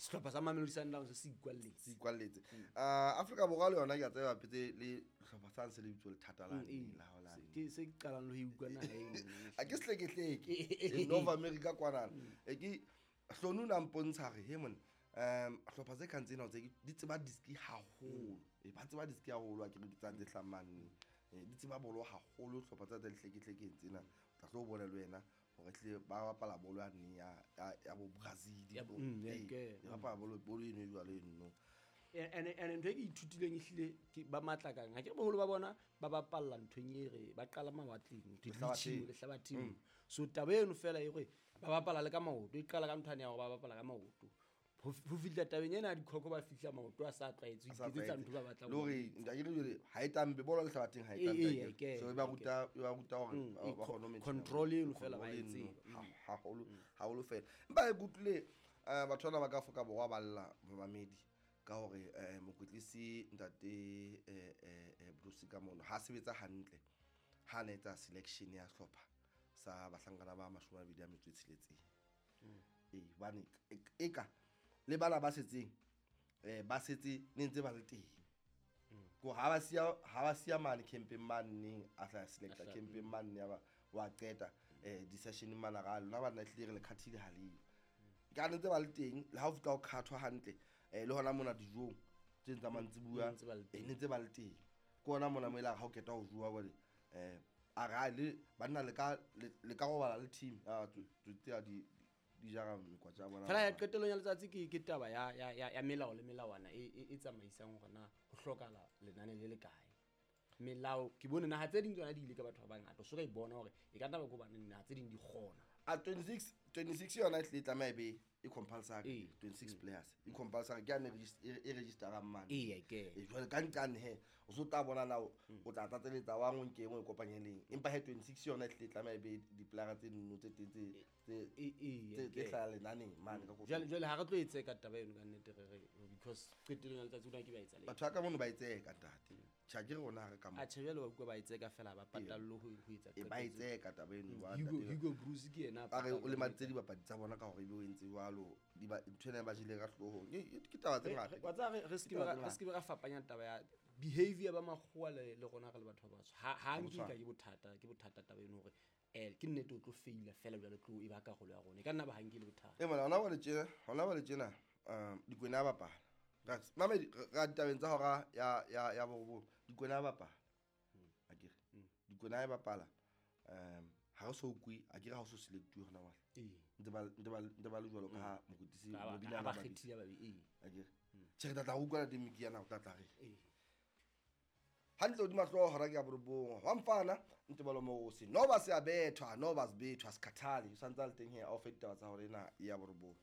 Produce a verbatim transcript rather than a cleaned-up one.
sehlopha sa Mamelodi Sundowns se ikwalletse. Se ikwalletse. Uh, Afrika Borwa le yona ke a tseba petse le hlopha sa se le bitso lethata la Mm, ee. la ho la. Se- ke se ke qalang le ho e utlwa naha eno. A ke sehlekehleke e North America kwanana. E ke hlonu na mpontsha re he monna um hlopha tse kang tsena tse di tseba diski haholo. E ba tseba diski haholo a ke re di tsang tse hlamane. E di tseba bolo haholo hlopha tsa tse dihlekehlekeng tsena. O tla tlo bona le wena hore tle ba bapala bolo ya nne ya ya ya bo Brazil. Ya bo- mm, ya Ee, ke- ba bapala bolo bolo eno e jwalo eno. ene ene ntho e ke ithutileng ehlile ke ba matla kang ha ke re boholo ba bona ba bapalla nthong e re ba qala mawatleng Lehlabatheng. di-beaching, lehlabatheng so taba eno fela e gore ba bapala le ka maoto e qala ka nthwane ya gore ba bapala ka maoto ho f- ho fihla tabeng ena ya dikhoko ba fihla maoto a sa tlwaetse ho A sa iketsetsa tlwaetse. ntho ba batlang le ho hore e etsa. nka ke re jwale ha e tampe bolo lehlabatheng ha e Ee, tampe ee, akere. ke- So e ba ke- ruta e ba ruta hore Mm, ba e ba kgone ho maintain control eno fela ba control e eno tseba. ha- haholo haholo fela empa ke utlwile eh, batho bana ba ka Afrika Borwa ba lla momamedi ka hore eh, mokwetlisi ntate eh, eh, eh, Bruce ka mono ha sebetsa hantle ha na etsa selection ya hlopha sa bahlankana ba mashome a mabedi a metso e tsheletseng. Ee, hobane e- eka le bana ba setseng eh ba setse ne ntse ba le teng ko ha ba siya ha ba siya mane campeng mane neng a tla selecta A hla- campeng mane ya ba wa qeta eh di-session mane ra lona ba nna hlile re le khathile ha leyo ka ne ntse ba le teng le ha o fihla o khathwa hantle eh le hona mona dijong tse tsa mantsibuya Ne ntse ba le eh teng. ne ntse ba le teng ke hona mona mo e leng ha o qeta ho jowa jwale eh a re ha le banna le ka le le ka robala le team a tse di di jara mekwatsa ya bona fela ya qetellong ya letsatsi ke ke taba ya ya ya ya melao le melawana e e- e tsamaisang hore na ho hlokahala lenane le le kae melao ke bone naha tse ding tsona di ile ka batho ba bangata o so ka e bona hore e ka nna ba ke hobane naha tse ding di kgona a twenty-six twenty-six yona e hlile e tlameha e be e compulsory Ee. twenty-six players e compulsory ke yane regis- e e registerang mane Ee, ke. E, jwale ka nqane he o so tla bona na o o tla tlatseletsa wa ngwe nke e nngwe e kopanyeleng empa he twenty-six yona e hlile e tlameha e be di-playera tse nno tse teng tse tse E- ee, tse tse ke. hlaha lenaneng mane ka jwale jwale ha re tlo e tseka taba eno ka nnete re re because qetellong ya letsatsi ona ke ba etsa le batho ba ka mono ba e tseka ntate tjha ke re rona ha re ka mo a tjhe jwale wa utlwa ba e tseka fela ba patallwe ho ho etsa e ba e qeto tseo. tseka taba eno ba Hugo ntate. Hugo Broos ke yena a re o patallwang lemaditse dibapadi tsa bona ka hore ebe o entse jwalo di ba ntho ena e ba jele ka hloohong E- e- ke taba tse Re- ngata re- wa tseba re- re se ke be Ke taba ra- tse re se ke be ra fapanya taba ya behavior ba makgowa le le rona re le batho ba batsho ha ha nke ka ke bothata ke bothata taba eno hore eh ke nnete o tlo faila fela jwale tlo e ba karolo ya rona e ka nna ba ha nke le bothata e mona hona jwale tjena hona jwale tjena um Dikwena a bapala Rax, mamedi re ra ditabeng tsa hora ya ya ya borobong Dikwena a bapala akere Dikwena e bapala um ha re so kwe akere ha o so selectuwe hona jwale ee ntse ba ntse ba ntse ba le jwalo ka ha mokwetlisi Ba- ba- Mobina ha ba a ba bitsa. kgethile ba be ee Akere tjhe re tla tla utlwa teng Mikiana o tla tla re ee hantle hodima hlooho hora ke ya borobong wa mfana ntebalo moose noba se a bethwa noba se bethwa sekhathale o santse a le teng he a o fe ditaba tsa hore ena ya borobong.